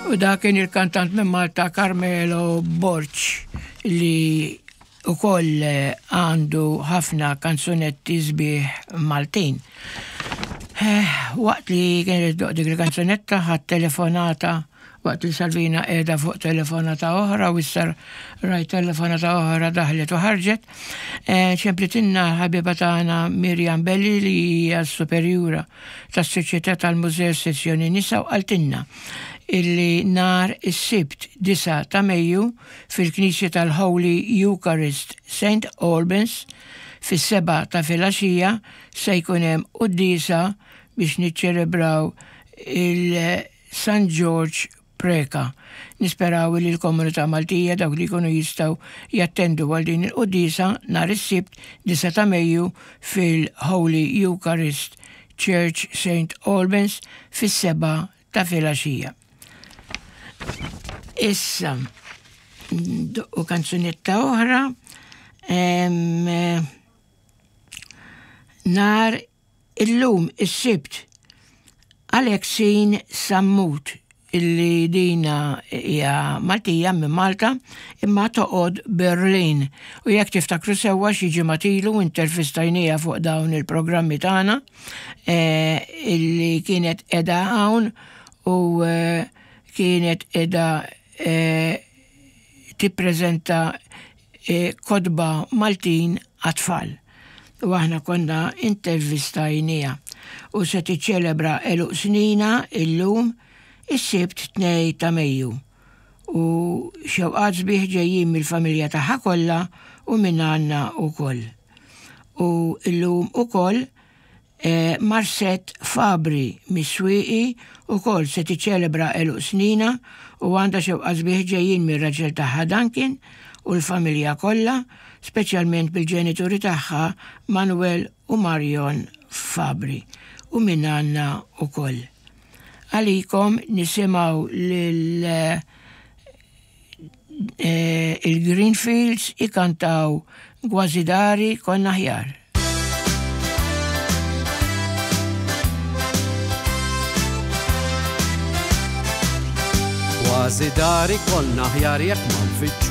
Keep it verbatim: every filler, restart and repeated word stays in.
U da kien il-kantant minn Malta Carmelo Borg li ukoll għandu ħafna kanzunetti sbieħ Maltin. Eh, waqt li kien iddoqq dik il-kanzunetta ħadt telefonata waqt li Salvina qiegħda fuq telefonata oħra u issa rajt telefonata oħra daħlet u ħarġet. Eh, ċemplitilna ħabiba tagħna Mirjam Belli li hija superjura tas-Soċjetà tal-Mużew Sezzjoni Nisa u qaltilna illi nhar is-Sibt disgħa ta' Mejju fil-Knisja tal-Holy Eucharist Saint Albans fis-sebgħa ta' filgħaxija se jkun hemm quddiesa biex niċċelebraw il-San George Preka. Nisperaw li l-komunità Maltija, dawk li jkunu jistgħu jattendu għal din il-quddiesa nhar is-Sibt disgħa ta' Mejju fil-Holy Eucharist Church Saint Albans fis-sebgħa ta' filgħaxija. Issa, u kanzunetta oħra, em, nhar illum is-Sibt Alexin Sammut, illi dina hija Maltija minn Malta imma toqgħod Berlin. U jekk tiftakru sewwa, xi ġimgħat ilu intervistajnieha fuq dawn il-programmi tagħna eh, illi kienet qiegħda hawn u eh, kienet qiegħda eh, tippreżenta kotba Maltin għat-tfal. U aħna konna intervistajnieha u se tiċċelebra għeluq sninha illum is-Sibt tnejn ta' Mejju. U xewqat sbieħ ġejjin mill-familja tagħha kollha u minn għandna ukoll. U illum ukoll eh, Marset Fabri mis-Swieqi ukoll se tiċċelebra għeluq sninha u għandha xewqat sbieħ ġejjin mir-raġel tagħha Duncan u l-familja kollha, speċjalment bil-ġenituri tagħha Manuel u Marion Fabri, u minn għandna ukoll. Għalikom nisimgħu lil eh, il-Greenfields ikantaw "Kważi Dari Konna Aħjar". Kważi dari konna aħjar jekk ma nfittxux.